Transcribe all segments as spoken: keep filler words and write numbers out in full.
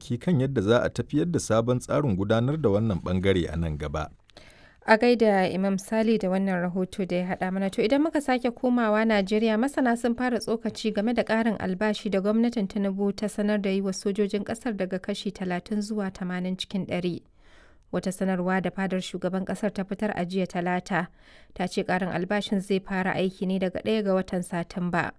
tsaki kan yadda za a tafiyar da sabon tsarin gudanar da wannan bangare a nan gaba. A gaida Imam Sali da wannan rahoto da ya haɗa mana. To idan muka sake komawa Najeriya, masana sun fara tsokaci game da ƙarin albashi da gwamnatin Tinubu ta sanar da yi wa sojojin ƙasar daga kashi talatin zuwa tamanin cikin ɗari. Wata sanarwa da fadar shugaban ƙasar ta fitar a jiya Talata ta ce ƙarin albashin zai fara aiki ne daga ɗaya ga watan Satumba.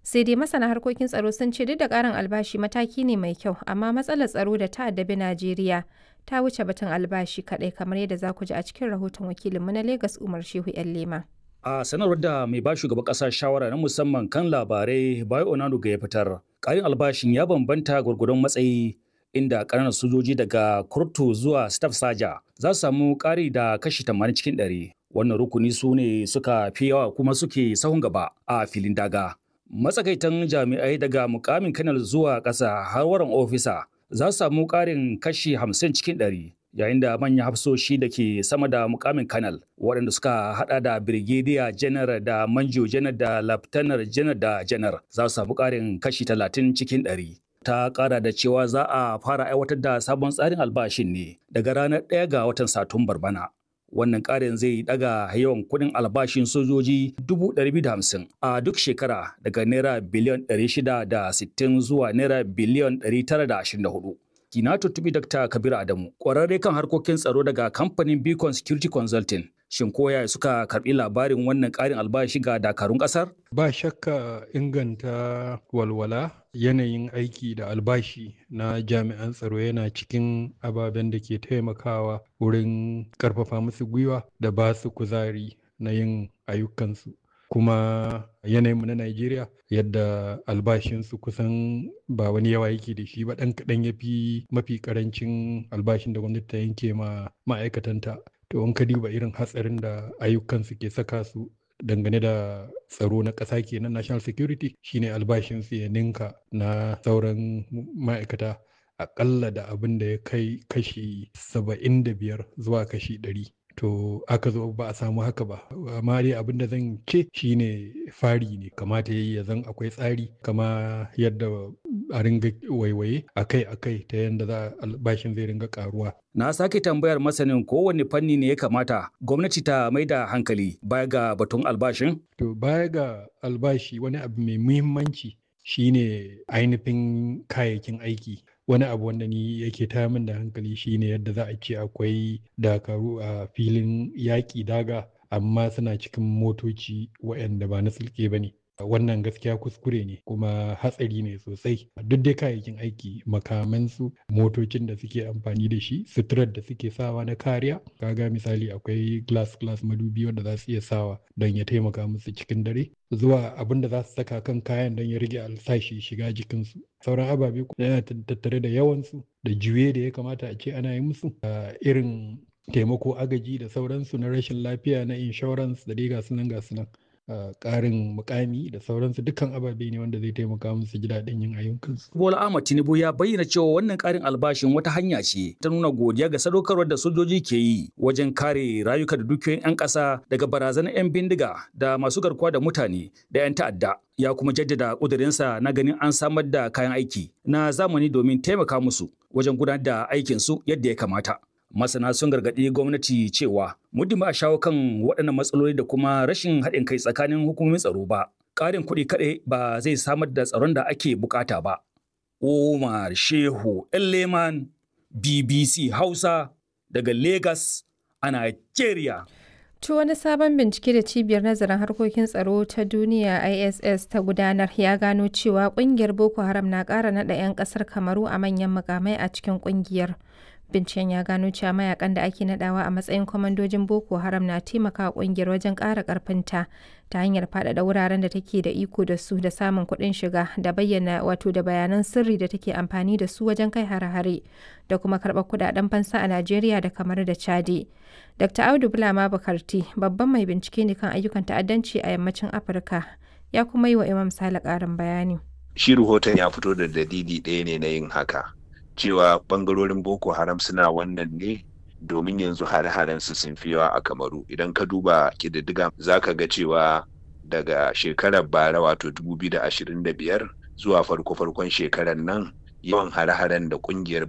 Sai dai masana harkokin tsaro sun ce duk da ƙarin albashi mataki ne mai kyau, amma matsalar tsaro da ta addabi Najeriya ta wuce batun albashi kaɗai, kamar yadda za ku ji a cikin rahoton wakilinmu na Legas, Umar Shehu 'Yan Lema. A sanarwar da mai ba shugaban ƙasa shawara na musamman kan labarai Bayo Onanuga ya fitar, ƙarin albashin ya bambanta gwargwadon matsayi, inda ƙananan sojoji daga kurtu zuwa staff saja za su samu ƙari da kashi tamanin cikin ɗari. Wannan rukuni su ne suka fi yawa kuma suke sahun gaba a filin daga. Matsakaitan jami'ai daga mukamin kanal zuwa ƙasa har waran ofisa za su samu ƙarin kashi hamsin cikin ɗari, yayin da manyan hafsoshi da ke sama da mukamin kanal, waɗanda suka hada da birgediya janar da manjo janar da laftanar janar da janar, za su samu ƙarin kashi talatin cikin ɗari. Ta ƙara da cewa za a fara aiwatar da sabon tsarin albashin ne daga ranar ɗaya ga watan Satumbar bana. Wannan ƙarin zai daga yawan kuɗin albashin sojoji dubu ɗari biyu da hamsin a duk shekara, daga naira biliyan ɗari shida da sittin zuwa naira biliyan ɗari tara da ashirin da hudu. Na tuntuɓi Dakta Kabiru Adamu, ƙwararre kan harkokin tsaro daga kamfanin Beacon Security Consulting. Shin koya suka karɓi labarin wannan ƙarin albashi ga dakarun ƙasar? Ba shakka, inganta walwala, yanayin aiki da albashi na jami'an tsaro yana cikin ababen da ke taimakawa wurin ƙarfafa musu gwiwa da ba su kuzari na yin ayyukansu. Kuma yanayinmu na Najeriya, yadda albashinsu kusan ba wani yawa yake da shi ba, ɗan kaɗan ya fi mafi ƙarancin albashin da gwamnati ta yanke ma ma'aikatanta. To in ka duba irin hatsarin da ayyukansu ke saka su dangane da tsaro na ƙasa kenan, national security, shine albashinsu ya ninka na sauran ma'aikata aƙalla da abin da ya kai kashi saba'in da biyar zuwa kashi ɗari. To aka zo ba a samu haka ba, amma dai abin da zan ce shine fari ne kamata yayi ya zan akwai tsari, kama yadda a ringa waiwaye akai akai ta yadda za albashin zai ringa karuwa. Na sake tambayar masanin kowane fanni ne ya kamata gwamnati ta mai da hankali baya ga batun albashin. To baya ga albashi, wani abu mai muhimmanci shine ainihin kayayyakin aiki. Wani abu wanda ni yake tayar min da hankali shine yadda za a ce akwai dakaru a filin yaƙi daga, amma suna cikin motoci waɗanda ba na sulke ba ne. Wannan gaskiya kuskure ne kuma hatsari ne sosai. Duk dai kayayyakin aiki, makamansu, motocin da suke amfani da shi, suturar da suke sawa na kariya. Kaga misali, akwai glass glass, madubi wanda za su iya sawa don ya taimaka musu cikin dare, zuwa abin da za su saka kan kayan don ya rage alsashi shiga jikinsu, sauran ababe yana tattare da yawansu da juye da ya kamata a ce ana yi musu, irin taimako, agaji da sauransu na rashin lafiya, na insurance da dai gasu nan gasu nan. Ƙarin mukami da sauransu, dukkan ababe ne wanda zai taimaka musu ji daɗin yin ayyukansu. Bola Ahmad Tinubu ya bayyana cewa wannan ƙarin albashin wata hanya ce ta nuna godiya ga sadaukarwar da sojoji ke yi wajen kare rayuka da dukiyoyin 'yan ƙasa daga barazanar 'yan bindiga da masu garkuwa da mutane da 'yan ta'adda. Ya kuma jaddada ƙudurinsa na ganin an samar da kayan aiki na zamani domin taimaka musu wajen gudanar da aikinsu yadda ya kamata. Masana sun gargaɗi gwamnati cewa muddin ba a shawo kan waɗannan matsaloli da kuma rashin haɗin kai tsakanin hukumomin tsaro ba, ƙarin kuɗi kaɗai ba zai samar da tsaron da ake bukata ba. Umar Shehu Leman, B B C Hausa, daga Lagos a Nigeria. To wani sabon bincike da Cibiyar Nazarin Harkokin Tsaro ta Duniya I S S ta gudanar ya gano cewa kungiyar Boko Haram na ƙara naɗa 'yan ƙasar Kamaru a manyan mukamai a cikin kungiyar. Binciken ya gano cewa mayakan da ake nadawa a matsayin kwamandojin Boko Haram na taimakawa kungiyar wajen ƙara ƙarfinta ta hanyar faɗaɗa wuraren da take da iko da su da samun kuɗin shiga da bayyana wato da bayanan sirri da take amfani da su wajen kai hare-hare da kuma karɓar kuɗaɗen fansa a Najeriya da kamar da Chadi. Doctor Audu Bulama Bukarti babban mai bincike ne kan ayyukan ta'addanci a yammacin Afirka, ya kuma yi wa Imam Sale ƙarin bayani. Shi rahoton ya fito da dalili ɗaya ne na yin haka, cewa bangarorin Boko Haram suna wannan ne domin yanzu hare-haren su sun fi yawa a Kamaru. Idan ka duba ƙididdiga, za ka ga cewa daga shekarar bara, wato dubu biyu da ashirin da biyar, zuwa farko-farkon shekarar nan, yawan hare-haren da kungiyar